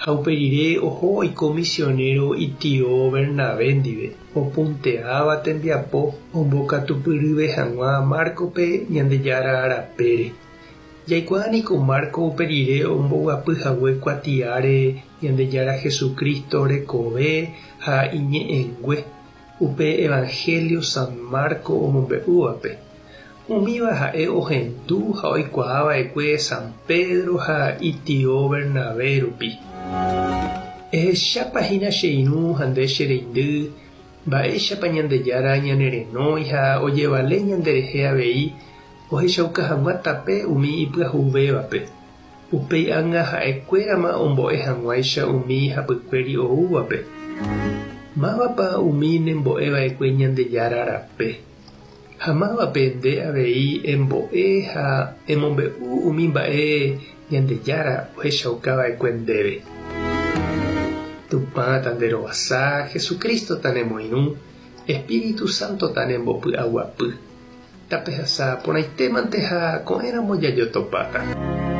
Ha upe rire oho oiko misionero itio Bernabé ndive, opunteáva tembiapo ombokatupyryve hag̃ua Márcope Ñandejára rapére. Jaikuaa niko Marco upe rire omboguapy hague kuatiáre Ñandejára Jesucristo rekove ha iñe'ẽngue, upe Evangelio San Marco omombe'úvape. Umíva ha'e ohendu ha oikuaa va'ekue San Pedro ha itio Bernabé rupi. Ehechápa hína che irũ ha nde che reindy mba'éichapa Ñandejára ñanerenói ha ojevale ñanderehe avei ohechauka hag̃ua tape umi ipyahuvévape. Upéi ág̃a ha'ekuérama ombo'e hag̃uáicha umi hapykuéri oúvape. Mávapa umi nembo'e va'ekue Ñandejára rape? Ha mávape nde avei embo'e ha emombe'u umi mba'e Ñandejára ohechauka va'ekue ndéve? Tupã tanderovasa, Jesucristo tanemoirũ, Espíritu Santo tanembopy'aguapy. Tapehasa porãitémante ha ko'ẽramo jajotopáta.